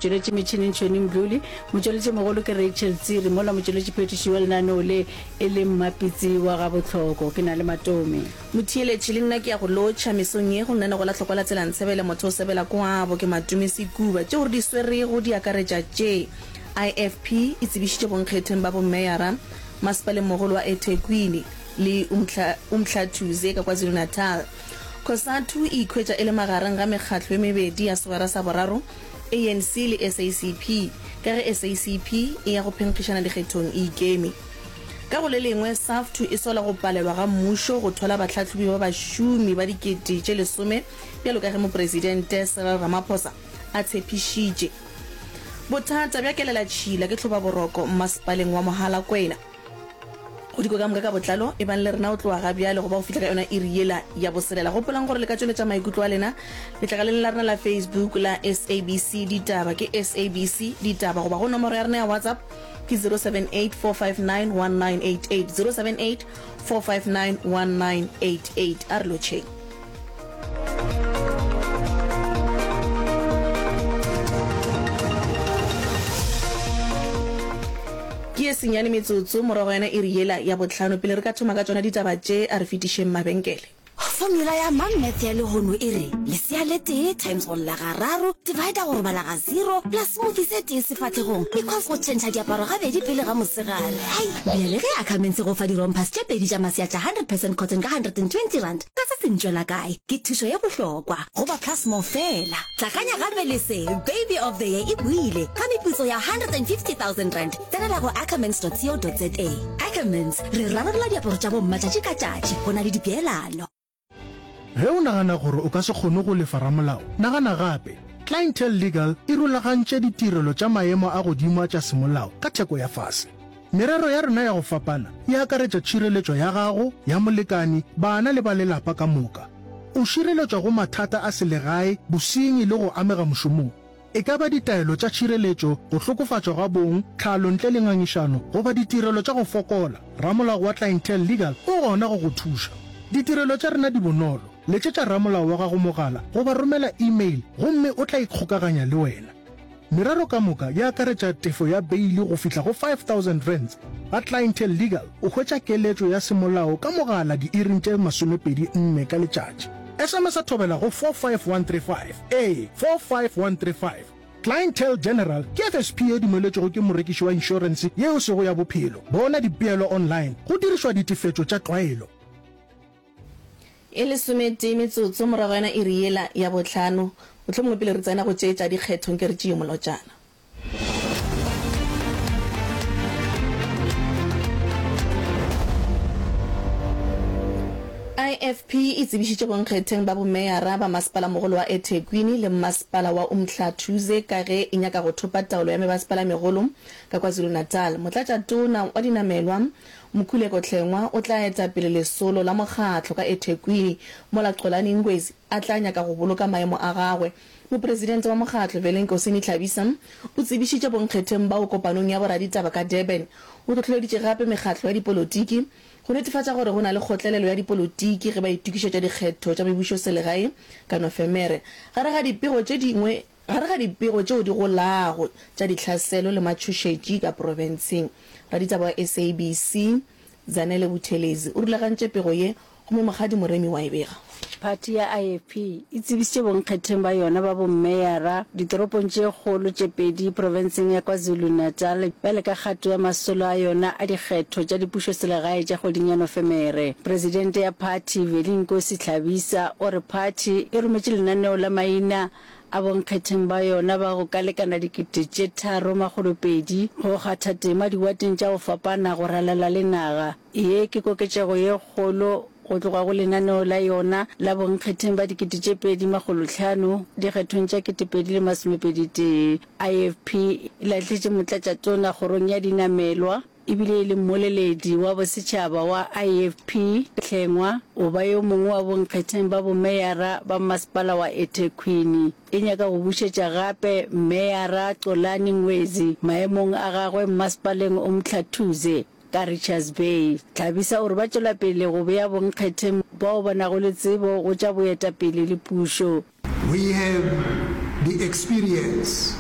Motšweletši metšhineng Tšhweni Mdluli, motšweletši mogolo ke Rachel Tsiri, mola motšweletši phethiši wa lenaneo le e le Mmapitsi wa Gabohloko. Ke na le Matome. Motheeletši, le nna ke ya go lotšha mesong ye go nna go la hlokwa la tsela ntshebele motho o sebela kwabo ke Matome Sekuba. Tšeo re di swerego di akaretša tše, IFP e tsebišitše bonkgetheng ba bommeyara masepaleng mogolo wa eThekwini le Umhlathuze ka KwaZulu-Natal. Cosatu e ikhwetša e le magareng ga mekgatlo e mebedi ya segwera sa boraro, ANC le SACP, ka ge SACP e ya go phenkgišana dikgethong e ikeme. Ka go le lengwe, Saftu e sola go palelwa ga mmušo go thwala bahlahlobi ba bašomi ba dikete tše lesome bjalo ka ge Mopresidente Cyril Ramaphosa a tshepišitše. Bothata bja kelelatšhila ke tlhobaboroko mmasepaleng wa Mogalakwena. Go diko ka moka ka botlalo, ebang le rena go tloga ga bjale go ba go fihla ka yona iri yela ya boselela. Gopolang gore le ka tšweletša maikutlo a lena letlakaleng la rena la Facebook la SABC Ditaba, ke SABC Ditaba, goba go nomoro ya rena ya WhatsApp ke 078 459 1988, 078 459 1988. A re lotšheng. Ke ye senyane metsotso morago yona iri yela ya bohlano. Pele re ka thoma ka tšona ditaba tše, a re fetišeng mabenkele. Formula ya Mom Math ya lehono e re, lesea le tee times go lla gararo, divider go robala ga zero, plus smoothie se tee sefahlegong equals go tšhentšha diaparo gabedi pele ga mosegare. Hai! Bjale ge Ackermans e go fa di-rompers tše pedi tša masea tša 100 percent cotton ka R120, Ka se se ntšwela kae? Ke thušo ye bohlokwa go ba Plus More fela. Hlakanya gape le se, Baby of the Year e boile ka meputso ya R150 000. Tsenela go ackermans.co.za. Ackermans, re rarolla diaparo tša bomma tšatši ka tšatši go na le dipeelano. Ge o nagana gore o ka se kgone go lefa ramolao, nagana gape. Clientele Legal e rulagantše ditirelo tša maemo a godimo a tša semolao ka theko ya fase. Merero ya rena ya go fapana e akaretša tšhireletšo ya gago, ya molekani, bana le ba lelapa ka moka. O šireletšwa go mathata a selegae, bosenyi le go amega mošomong. E ka ba ditaelo tša tšhireletšo, go hlokofatšwa ga bong, tlhalo ntle le ngangišano, goba ditirelo tša go fokola, ramolao wa Clientele Legal o gona go go thuša. Ditirelo tša rena di bonolo, letšetša ramolao wa gago mogala goba romela email gomme o tla ikgokaganya le wena. Merero ka moka e akaretša tefo ya beili go fihla go R5000. Ga Clientele Legal o hwetša keletšo ya semolao ka mogala diiring tše 24 ka letšatši. SMS-a thobela go 45135, ee, 45135. Clientele General ke FSP ye dumeletšwego ke morekiši wa inšorense ye e sego ya bophelo. Bona dipeelo online go dirišwa ditefetšo tša tlwaelo. E lesometee metsotso morago yona iri yela ya bohlano, mohlomongwe pele re tsena go tše tša dikgetho, nke re tšee molotšana. IFP e tsebišitše bonkgetheng ba bomeyara ba masepalamogolo wa eThekwini le mmasepala wa Umhlathuze ka ge e nyaka go thopa taolo ya mebasepala-megolo ka KwaZulu-Natal. Motlatšatona wa dinamelwa Mkhuleko Hlengwa o tla eta pele lesolo la mokgatlo ka eThekwini, mola Xolani Ngwezi a tla nyaka go boloka maemo a gagwe. Mopresidente wa mokgatlo, Velenkosini Hlabisa, o tsebišitše bonkgetheng bao kopanong ya boraditaba ka Durban. O hlohleleditše gape mekgatlo ya dipolotiki go netefatša gore go na le kgotlelelo ya dipolotiki ge ba itokišetša dikgetho tša mebušoselegae ka Nofemere. Gare ga dipego tše dingwe Gare ga dipego tšeo di golago tša ditlhaselo le matšhošetši ka profenseng, raditaba wa SABC, Zanele Buthelezi, o rulagantše pego ye gomme Mokgadi Moremi wa e bega. Phathi ya IFP e tsebišitše bonkgetheng ba yona ba bommeyara ditoropong tše kgolo tše pedi profenseng ya KwaZulu-Natal bjale ka kgato ya masolo a yona a dikgetho tša dipušoselegae tša kgweding ya Nofemere. Presidente ya phathi, Velinkosi Hlabisa, o re phathi e rometše lenaneo la maina a bonkgetheng ba yona ba go ka lekana 3200 go kgatha tema diwateng tša go fapana go ralala le naga. Ye ke koketšego ye kgolo go tloga go lenaneo la yona la bonkgetheng ba 2500 dikgethong tša 2021. IFP e lahletše motlatšatona kgorong ya dinamelwa, E bile e le mmoleledi wa bosetšhaba wa IFP, Hlengwa o ba yo mongwe wa bonkgetheng ba bomeyara ba mmasepala wa eThekwini. E nyaka go bušetša gape Meyara Xolani Ngwezi maemong a gagwe mmasepaleng Umhlathuze ka Richards Bay. Hlabisa o re ba tšwela pele go bea bonkgetheng bao ba nago le tsebo go tša boetapele le pušo. We have the experience.